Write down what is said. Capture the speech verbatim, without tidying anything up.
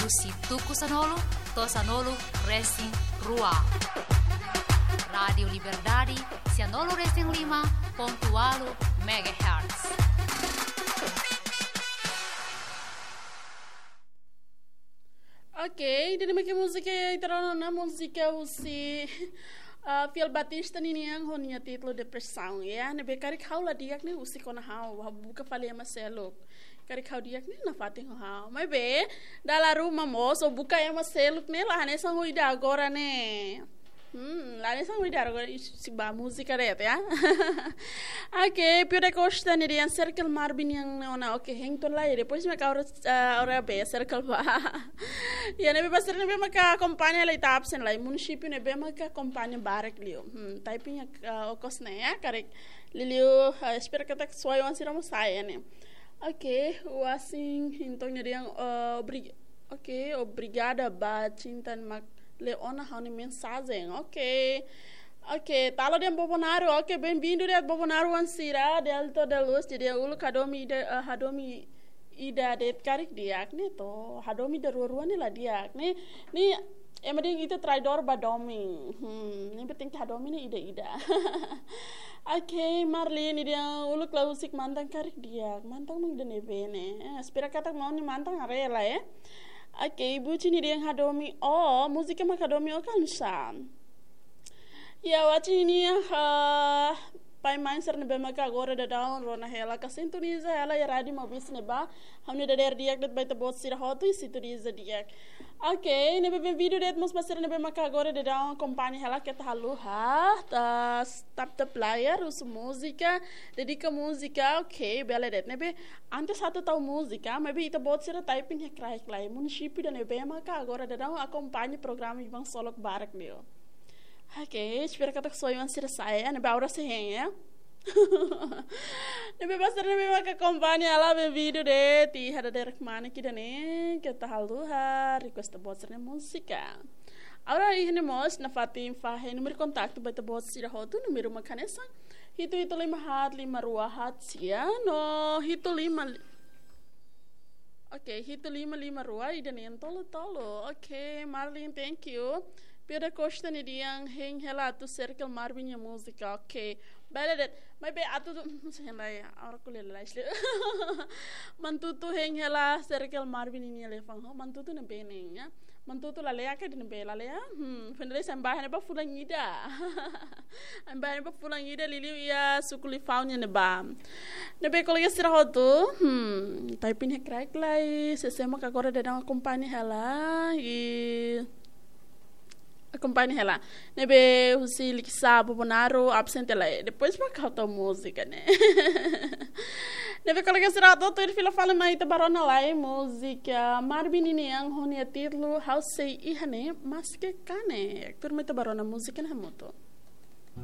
Husi tuku sanulu to'o sanulu resin rua. Rádiu Liberdade, sanulu resin lima pontu ualu megahertz. Ok, ida-ne'e mak múzika, ita rona ona múzika husi, ah, Fiel Batista ninian ho nia títulu Depresaun, ya. Ne'ebé karik ha'u la di'ak ne'e husik ona ha'u, ha'u buka fali ema seluk. Karik ha'u di'ak ne'e nafatin ho ha'u. Maibé, dala ruma mós, ó buka ema seluk ne'e la hanesan ho ida agora ne'e. Hmm, la hanesan ho ida agora, ih, se ba múzika de'it, ya. Ok, Pio da Costa ninian Circle Marvin nian ona, ok, hein to'o lai, depois mak ha'u, ah, ha'u bá Circle ba. Ya, ne'ebé ba sira ne'ebé maka akompaña lai ita absen lai, munisípiu ne'ebé maka akompaña barak liu. Hmm, typing ya, ah, okos ne'e ya, karik liuliu, ah, espera katak soe-oan sira mós sai ne'e. Ok, Wasin, entaun ninian, ah, obri-, ok, obrigada ba Cinta mak lee ona ha'u-nia mensajen. Ok. Ok, talo de'it Bobonaro. Ok, bem-vindo de'it Bobonaro oan sira, Delto da Luz, jadi uluk hadomi ida, ah, hadomi ida de'it karik di'ak ne'e to. Hadomi ida rua-rua ne'e la di'ak ne'e. Ne'e ema dehan ita traidór ba domin. Hmm, ne'ebé tenke hadomi ne'e ida-ida. Ok, Marli ninian uluk la husik mantan karik di'ak. Mantan mak ida-ne'ebé ne'e. Eh, espera katak maun nia mantan haree lai, eh. Ok, Buci ninian hadomi ó, múzika mak hadomi ó kansa. Ya, Waci ninian, ah, pai-mãe sira ne'ebé maka agora daudaun rona hela ka sintoniza hela iha Rádiu Maubisse ne'ebá, ha'u-nia dadeer di'ak de'it ba ita-boot sira hotu, i sintoniza di'ak. Ok, ne'ebé bem-vindo de'it mós ba sira ne'ebé maka agora daudaun akompaña hela, keta haluha, ah, tap tap layar, husu múzika, dedika múzika, ok, bele de'it. Ne'ebé, antes atu tau múzika, maibé ita-boot sira typing iha kraik lai, munisípiu ida-ne'ebé maka agora daudaun akompaña programa Iban Solok barak liu. Ok, espera katak soe-oan sira sai, ne'ebé agora sei hein, ya. Ne'ebé ba sira ne'ebé maka akompaña hela, bem-vindo de'it, i hada derek mana ki dane, keta haluha, request ita-boot sira-nia múzika. Agora iha ne'e mós nafatin fahe númeru kontaktu ba ita-boot sira hotu, númeru mak hanesan hitu hitu lima haat lima rua haat sia, no hitu lima li-, ok, hitu lima lima rua, ida neen tolu tolu. Ok, Marlin, thank you. Pio da Costa ninian hein hela atu Circle Marvin nia múzika. Ok, bele de'it. Maibé atu tu, sei hein lai, agora ku lela isle. Mantutu hein hela Circle Marvin ninia liafuan ho. Mantutu ne'ebé ne'e, ya. Mantutu Laleá ka ida-ne'ebé Laleá? Hmm, foin dadauk sa'e ba ne'ebá fulan ida. Sa'e ba ne'ebá fulan ida liuliu iha suku Lifau nian ne'ebá. Ne'ebé kolega sira hotu, hmm, typing iha kraik lai, sé-sé mak agora daudaun akompaña hela, i akompaña hela. Ne'ebé husi Likisá, Bobonaro, absen tiha lai. Depois mak ha'u tau múzika ne'e. Ne'ebé kolega sira hotu, tuir fila fali mai ita bá rona lai múzika Marvin ninian ho nia títulu Ha'u Sei Iha Ne'e Maske Ka Ne'e. Tuur mai ita bá rona múzika ne'e hamutuk.